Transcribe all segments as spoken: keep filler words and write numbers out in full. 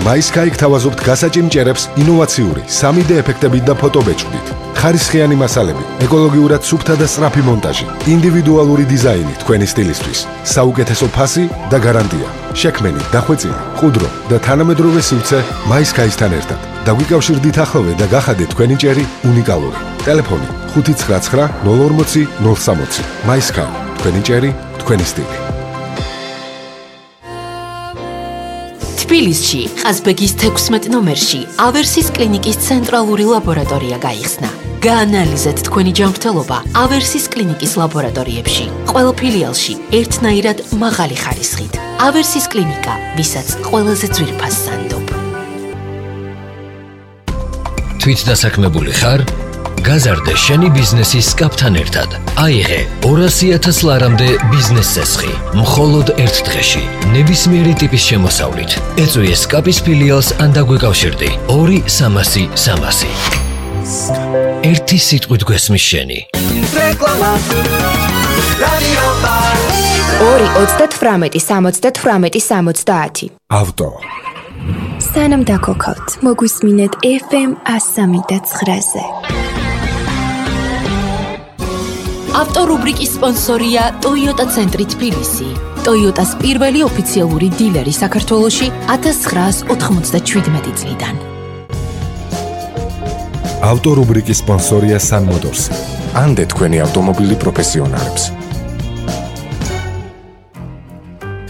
MySky გთავაზობთ გასაჭიმ ჭერებს ინოვაციური სამი დე ეფექტებით და ფოტობეჭდით. ხარისხიანი მასალები, ეკოლოგიურად სუფთა და სწრაფი მონტაჟი, ინდივიდუალური დიზაინი თქვენი სტილისთვის, საუკეთესო ფასი და გარანტია. შექმენი, დახვეწილი, ყუდრო და თანამედროვე სივრცე MySky-სთან ერთად. დაგვიკავშირდით ახლოვე და გახადეთ თქვენი ჭერი უნიკალური. ტელეფონი ხუთი ცხრა ცხრა ნულ ორმოცი ნულ სამოცი. MySky, თქვენი ჭერი, თქვენი სტილი. თბილისში, ყაზბეგის თექვსმეტ ნომერში ავერსის კლინიკის ცენტრალური ლაბორატორია გაიხსნა. გაანალიზეთ თქვენი ჯანმრთელობა ავერსის კლინიკის ლაბორატორიებში. ყველა ფილიალში ერთნაირად მაღალი ხარისხით. ავერსის კლინიკა, ვისაც ყველაზე ძვირფას სანდობ. თვით დასაქმებული ხარ? გაზარდე შენი ბიზნესის სკაპთან ერთად. აიღე ორასი ათას ლარამდე ბიზნეს წესხი. მხოლოდ ერთ დღეში, ნებისმიერი ტიპის შემოსავლით. ეწვიე სკაპის ფილიალს ან დაგვიკავშირდი. ორი სამასი სამასი. ერთი სიტყვით გვესმის შენი. რეკლამა. რადიო პალიტრა. ორი ოცდათვრამეტი სამოცდათვრამეტი სამოცდაათი. ავტო. სანამ დაქოქავთ, მოგვისმინეთ ეფ ემ ასამი და ცხრაზე. ავტორუბრიკის სპონსორია Toyota ცენტრი თბილისი. Toyota-s პირველი ოფიციალური დილერი საქართველოში ათას ცხრაას ოთხმოცდაშვიდმეტი წლიდან. ავტორუბრიკის სპონსორია Sun Motors. ანდე თქვენი ავტომობილი პროფესიონალებს.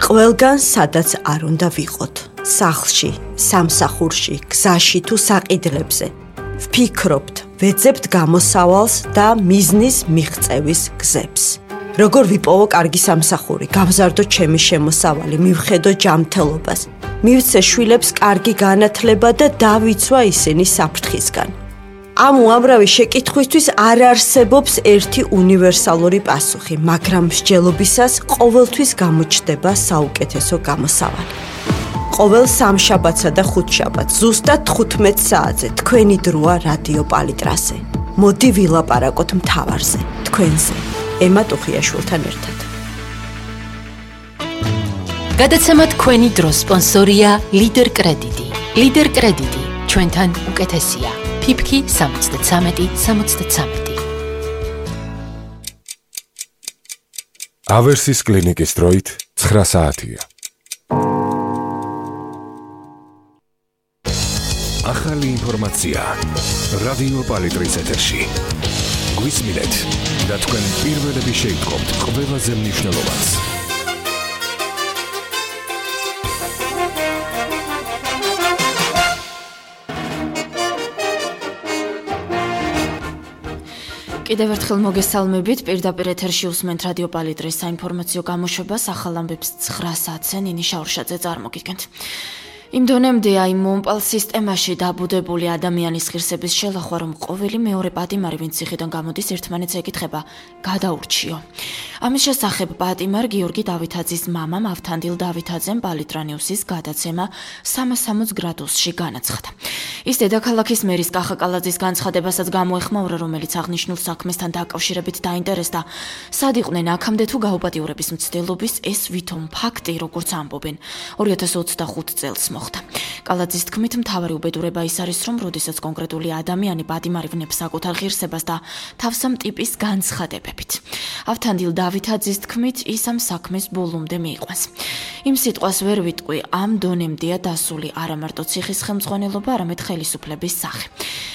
ყველგან სადაც არ უნდა ვიყოთ. სახლში, სამსახურში, გზაში თუ საყიდლებზე. ვფიქრობთ, ვეძებთ გამოსავალს და მიზნის მიღწევის გზებს. როგორ ვიპოვო კარგი სამსახური, გავზარდო ჩემი შემოსავალი, მივხედო ჯანმრთელობას, მივცე შვილებს კარგი განათლება და დავიცვა ისინი საფრთხისგან. ამ უამრავი შეკითხვისთვის არ არსებობს ერთი უნივერსალური პასუხი, მაგრამ მსჯელობისას ყოველთვის გამოჩნდება საუკეთესო გამოსავალი. ყოველ სამშაბათსა და ხუთშაბათს ზუსტად თხუთმეტ საათზე თქვენი დროა რადიო პალიტრაზე. მოდი ვილაპარაკოთ მთავარზე, თქვენზე, ემა ტუხიაშვილთან ერთად. გადაცემა თქვენი დროს სპონსორია ლიდერ კრედიტი. ლიდერ კრედიტი, ჩვენთან უკეთესია. ფიფკი სამოცდაცამეტი სამოცდაცამეტი. ავერსის კლინიკის დროით ცხრა საათია. ახალი ინფორმაცია რადიო პალიტრის ეთერში. გვისმინეთ და თქვენ პირველები შეიტყობთ ყველაზე მნიშვნელოვანს. კიდევ ერთხელ მოგესალმებით, პირდაპირ ეთერში უსმენთ რადიო პალიტრის საინფორმაციო გამოშვებას, ახალ ამბებს ცხრა საათზე ნინი შაურშაძე წარმოგიდგენთ. იმ დონემდე აი მომპალ სისტემაში დაბუდებული ადამიანის ღირსების შელახვა, რომ ყოველი მეორე პატიმარი, ვინც ციხიდან გამოდის, ერთმანეთს ეკითხება, გადაურჩიო. ამის შესახებ პატიმარ გიორგი დავითაძის მამამ ავთანდილ დავითაძემ პალიტრა ნიუსის გადაცემა სამასამოც გრადუსში განაცხადა. ის დედაქალაქის მერის კახა კალაძის განცხადებასაც გამოეხმაურა, რომელიც აღნიშნულ საქმესთან დაკავშირებით დაინტერესდა. სად იყვნენ აქამდე თუ გაუპატიურების მცდელობის ეს ვითომ ფაქტი, როგორც ამბობენ, ორი ათას ოცდახუთ წელს მოხდა. კალაძის თქმით, მთავარი უბედურება ის არის, რომ როდესაც კონკრეტული ადამიანი პატიმარი ვნებს საკუთარ ღირსებას და თავსამ ტიპის განცხადებებით. ავთანდილ დავითაძის თქმით, ის ამ საქმეს ბოლომდე მიიყვანს. იმ სიტყვას ვერ ვიტყვი, ამ დონემდეა დასული არა მარტო ციხის ხელმძღვანელობა, არამედ ხელისუფლების სახე.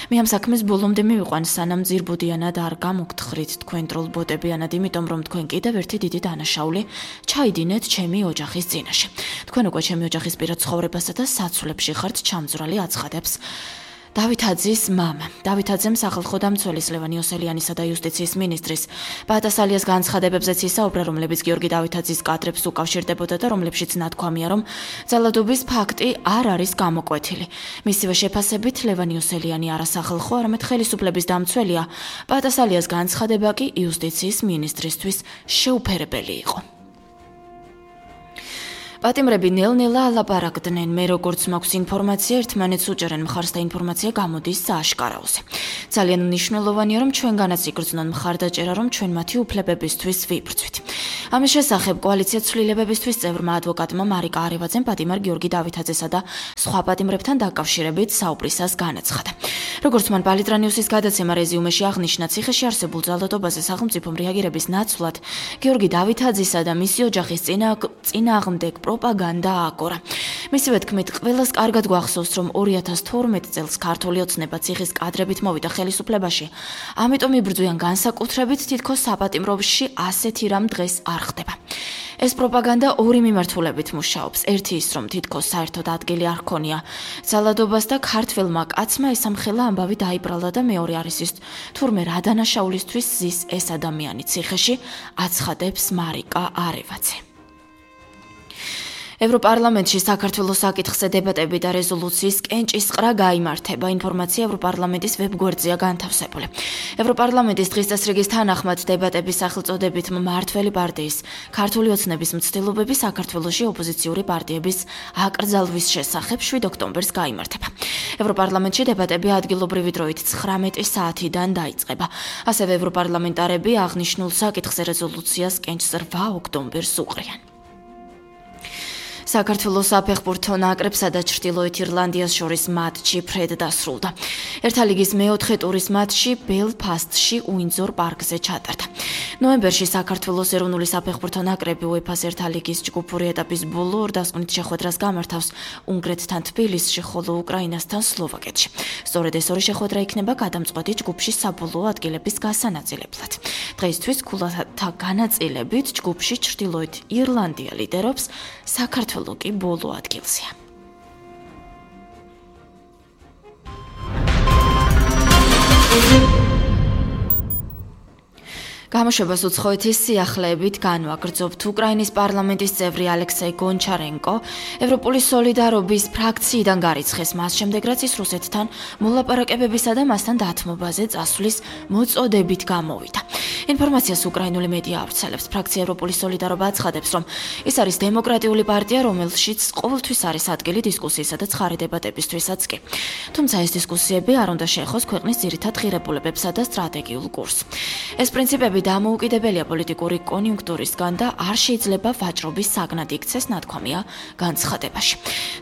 მე ამ საქმეს ბოლომდე მივიყვან, სანამ ძირბოდიანად არ გამოგთხრით თქვენ დროლბოტებიანად, იმიტომ რომ თქვენ კიდევ ერთი დიდი დანაშაული ჩაიდინეთ ჩემი ოჯახის წინაშე. თქვენ უკვე ჩემი ოჯახის პირად ცხოვრებასა და საცვლებში ხართ ჩამძვრალი, აცხადებს დავითაძის მამა. დავითაძემ სახალხო დამცველის ლევან იოსელიანისა და იუსტიციის მინისტრის პატასალიას განცხადებებზეც ისაუბრა, რომლებიც გიორგი დავითაძის კადრებს უკავშირდებოდა და რომლებშიც ნათქვამია, რომ ძალადობის ფაქტი არ არის გამოკვეთილი. მისივე შეფასებით, ლევან იოსელიანი არა სახალხო, არამედ ხელისუფლების დამცველია. პატასალიას განცხადება კი იუსტიციის მინისტრისთვის შეუფერებელი იყო. პატიმრები ნელ-ნელა ალაპარაკდნენ, მე როგორც მაქვს ინფორმაცია, ერთმანეთს უჭერენ მხარს და ინფორმაცია გამოდის სააშკარაოზე. ძალიან მნიშვნელოვანია, რომ ჩვენგანაც იგრძნონ მხარდაჭერა, რომ ჩვენ მათი უფლებებისთვის ვიბრძვით. ამის შესახებ კოალიცია ცვლილებებისთვის წევრმა ადვოკატმა მარიკა არევაძემ პატიმარ გიორგი დავითაძესა და სხვა პატიმრებთან დაკავშირებით საუბრისას განაცხადა. როგორც მან პალიტრანიუსის გადაცემა რეზიუმეში აღნიშნა, ციხეში არსებულ ძალადობაზე სახელმწიფომ რეაგირების ნაცვლად გიორგი დავითაძისა და მისი ოჯახის წინააღმდეგ პროპაგანდა ააკორა. მისივე თქმით, ყველას კარგად გვახსოვს, რომ ორი ათას თორმეტ წელს ქართული ოცნება ციხის კადრებით მოვიდა ხელისუფლებაში. ამიტომ იბრძვიან განსაკუთრებით თითქოს საპატიმროში ასეთი რამ დღეს არ ხდება. ეს პროპაგანდა ორი მიმართულებით მუშაობს. ერთი ის, რომ თითქოს საერთოდ ადგილი არ ჰქონია ძალადობას და ქართველმა კაცმა ესამხელა ამბავი დაიბრალა და მეორე არის ის, თურმე რა დანაშაულისთვის ზის ეს ადამიანი ციხეში, აცხადებს მარიკა არევაძე. ევროპარლამენტში საქართველოს საკითხზე დებატები და რეზოლუციის კენჭისყრა გაიმართება. ინფორმაცია ევროპარლამენტის ვებგვერდზეა განთავსებული. ევროპარლამენტის დღის წესრიგის თანახმად დებატების სახელწოდებით მმართველი პარტიის ქართული ოცნების მცდელობები საქართველოში ოპოზიციური პარტიების აკრძალვის შესახებ შვიდ ოქტომბერს გაიმართება. ევროპარლამენტში დებატები ადგილობრივი დროით ცხრამეტი საათიდან დაიწყება. ასევე ევროპარლამენტარები აღნიშნულ საკითხზე რეზოლუციას კენჭს რვა ოქტომბერს უყრიან. საქართველოს საფეხბურთო ნაკრებსა და ჩრდილოეთ ირლანდიას შორის მატჩი ფრედ დასრულდა. ერთა ლიგის მეოთხე ტურის მატჩი ბელფასტში უინძორ პარკზე ჩატარდა. ნოემბერში საქართველოს ეროვნული საფეხბურთო ნაკრები უეფა-ს ერთა ლიგის ჯგუფური ეტაპის ბოლო ორ დასკვნით შეხვედრას გამართავს უნგრეთთან თბილისში, ხოლო უკრაინასთან სლოვაკეთში. სწორედ ეს ორი შეხვედრა იქნება გადამწყვეტი ჯგუფში საბოლოო ადგილების გასანაწილებლად. დღეისთვის ქულათა განაწილებით ჯგუფში ჩრდილოეთ ირლანდია ლიდერობს, საქართველოს კი ბოლო ადგილზეა. გამოშვებას უცხოეთის სიახლეებით განვაგრძობთ. უკრაინის პარლამენტის წევრი ალექსეი გონჩარენკო ევროპული სოლიდარობის ფრაქციიდან გარიცხეს, მას შემდეგ რაც ის რუსეთთან მოლაპარაკებებისა და მასთან დათმობაზე წასვლის მოწოდებით გამოვიდა. ინფორმაციას უკრაინული მედია ავრცელებს. ფრაქცია ევროპული სოლიდარობა აცხადებს, რომ ის არის დემოკრატიული პარტია, რომელშიც ყოველთვის არის ადგილი დისკუსიისა და ცხარე დებატებისთვისაც კი. თუმცა ეს დისკუსიები არ უნდა შეეხოს ქვეყნის ძირითად ღირებულებებსა და სტრატეგიულ კურსს. ეს პრინციპები დამოუკიდებელია პოლიტიკური კონიუნქტურისგან და არ შეიძლება ვაჭრობის საგნად იქცეს, ნათქვამია განცხადებაში.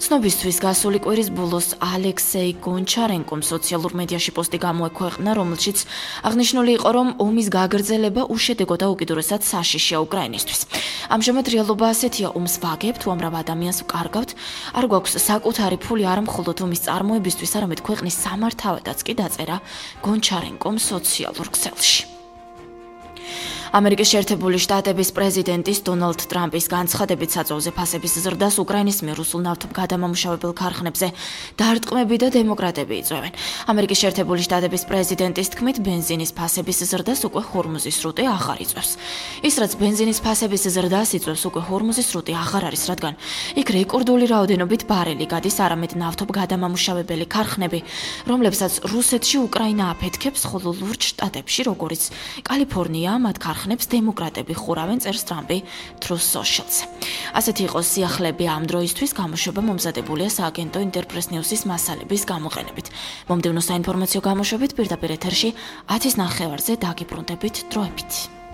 ცნობისთვის გასული კვირის ბოლოს ალექსეი გონჩარენკომ სოციალურ მედიაში პოსტი გამოექვეყნა, რომელშიც აღნიშნული იყო, რომ ომის გაგრძელება უშედეგო და უკიდურესად საშიშია უკრაინისთვის. ამჟამად რეალობა ასეთია, ომს ვაგებთ, უამრავ ადამიანს ვკარგავთ, არ გვაქვს საკუთარი ფული არა მხოლოდ ომის წარმოებისთვის, არამედ ქვეყნის სამართავადაც კი დაწერა გონჩარენკომ სოციალურ ქსელში. ამერიკის შეერთებული შტატების პრეზიდენტის დონალდ ტრამპის განცხადებით საწვავზე ფასების ზრდას უკრაინის მიერ რუსულ ნავთობგადამამუშავებელ ქარხნებზე დარტყმები და დემოკრატები იწვევენ. ამერიკის შეერთებული შტატების პრეზიდენტის თქმით, ბენზინის ფასების ზრდას უკვე ჰორმუზის სრუტე აღარ იწვევს. ის რაც ბენზინის ფასების ზრდას იწვევს, უკვე ჰორმუზის სრუტე აღარ არის, რადგან იქ რეკორდული რაოდენობით ბარელი გადის, არამედ ნავთობგადამამუშავებელი ქარხნები, რომლებსაც რუსეთში უკრაინა აფეთქებს, ხოლო ლურჯ შტატებში, როგორიც კალიფორნია, მათ ქარხნებს დემოკრატები ხურავენ, წერს ტრამპი Truth Social-ზე. ასეთი იყო სიახლეები ამ დროისთვის, გამოშვება მომზადებულია სააგენტო ინტერპრეს ნიუსის მასალების გამოყენებით. მომდევნო საინფორმაციო გამოშვებით პირდაპირ ეთერში ათის ნახევარზე დაგიბრუნდებით დროებით.